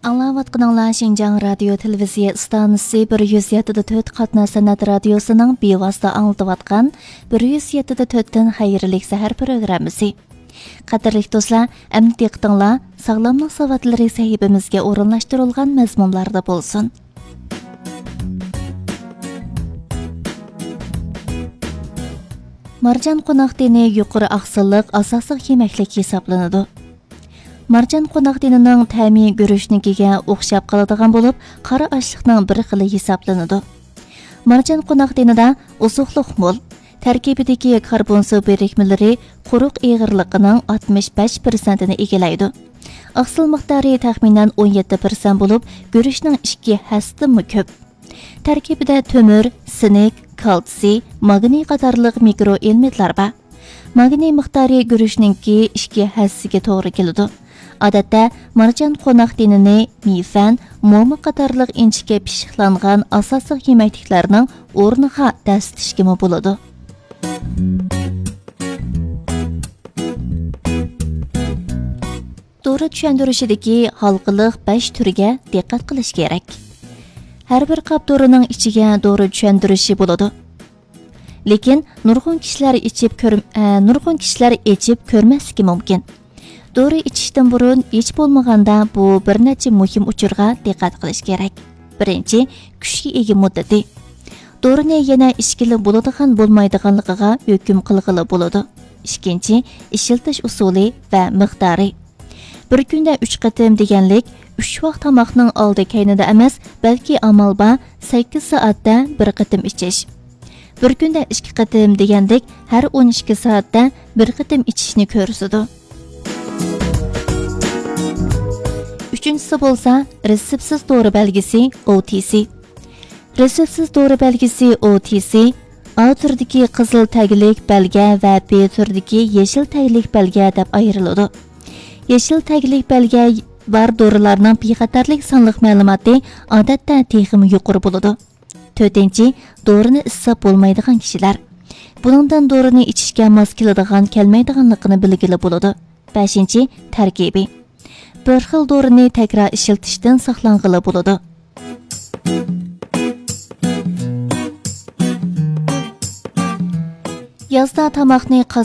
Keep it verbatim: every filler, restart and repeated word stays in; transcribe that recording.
ئاڭلاۋاتقىنىڭلار شىنجاڭ رادىيو تېلېۋىزىيە ئىستانسىسى بىر يۈز يەتتە دە تۆت قاتناش سەنئەت رادىيوسىنىڭ بىۋاسىتە ئاڭلىتىۋاتقان بىر يۈز يەتتە دە تۆتتىن خەيرلىك سەھەر پروگراممىسى. قەدىرلىك دوستلار، ئەمدى دىققىتىڭلار ساغلاملىق ساۋاتلىرى سەھىپىمىزگە ئورۇنلاشتۇرۇلغان مەزمۇنلاردا بولسۇن. مارجان قوناق دېنى يۇقىرى ئاقسىللىق ئاساسلىق يېمەكلىك ھېسابلىنىدۇ. مارجان قوناق دېنىنىڭ تەمى گۈرۈچنىڭكىگە ئوخشاپ قالىدىغان بولۇپ، قارا ئاشلىقنىڭ بىر خىلى ھېسابلىنىدۇ. مارجان قوناق دېنىدا ئوزۇقلۇق مول. تەركىبىدىكى كاربون سۇ بىرىكمىلىرى قۇرۇق ئېغىرلىقىنىڭ ئاتمىش بەش پىرسەنتىنى ئىگىلەيدۇ. ئاقسىل مىقدارى تەخمىنەن ئون يەتتە پىرسەنت بولۇپ، گۈرۈچنىڭ ئىككى ھەسسىدىنمۇ كۆپ. تەركىبىدە تۆمۈر، سىنك، كالتسىي، ماگنىي قاتارلىق مىكرو ئېلېمېنتلار بار. ماگنىي مىقدارى گۈرۈچنىڭكى ئىككى ھەسسىگە توغرا كېلىدۇ. ئادەتتە مارجان قوناق دېنىنى مىفەن، موما قاتارلىق ئىنچىكە پىششىقلانغان ئاساسلىق يېمەكلىكلەرنىڭ ئورنىغا دەسسىتىشكىمۇ بولىدۇ. دورا چۈشەندۈرۈشىدىكى ھالقىلىق بەش تۈرگە دىققەت قىلىش كېرەك. ھەر بىر قاپ دورىنىڭ ئىچىگە دورا چۈشەندۈرۈشى بولىدۇ. لېكىن نۇرغۇن كىشىلەر ئىچىپ كۆر-، ئە، نۇرغۇن كىشىلەر ئىچىپ كۆرمەسلىكى مۇمكىن. دورا ئىچىشتىن بۇرۇن ھېچ بولمىغاندا بۇ بىر نەچچە مۇھىم ئۇچۇرغا دىققەت قىلىش كېرەك. بىرىنچى، كۈچكە ئىگە مۇددىتى. دورىنى يەنە ئىچكىلى بولىدىغان بولمايدىغانلىقىغا ھۆكۈم قىلغىلى بولىدۇ. ئىككىنچى، ئىشلىتىش ئۇسۇلى ۋە مىقدارى. بىر كۈندە ئۈچ قېتىم دېگەنلىك، ئۈچ ۋاق تاماقنىڭ ئالدى كەينىدە ئەمەس، بەلكى ئامال بار سەككىز سائەتتە بىر قېتىم ئىچىش. بىر كۈندە ئىككى قېتىم دېگەندەك، ھەر ئون ئىككى سائەتتە بىر قېتىم ئىچىشنى كۆرسىتىدۇ. ئۈچىنچىسى بولسا رېتسېپسىز دورا بەلگىسى، ئو تى سى. رېتسېپسىز دورا بەلگىسى، ئو تى سى، ئا تۈردىكى قىزىل تەگلىك بەلگە ۋە بې تۈردىكى يېشىل تەگلىك بەلگە دەپ ئايرىلىدۇ. يېشىل تەگلىك بەلگە بار دورىلارنىڭ بىخەتەرلىك سانلىق مەلۇماتى ئادەتتە تېخىمۇ يۇقىرى بولىدۇ. تۆتىنچى، دورىنى ئىسساپ بولمايدىغان كىشىلەر. بۇنىڭدىن دورىنى ئىچىشكە ماس كېلىدىغان، كەلمەيدىغانلىقىنى بىلگىلى بولىدۇ. بەشىنچى، تەركىبى. بىر خىل دورىنى تەكرار ئىشلىتىشتىن ساقلانغىلى بولىدۇ. يازدا تاماقنى قاز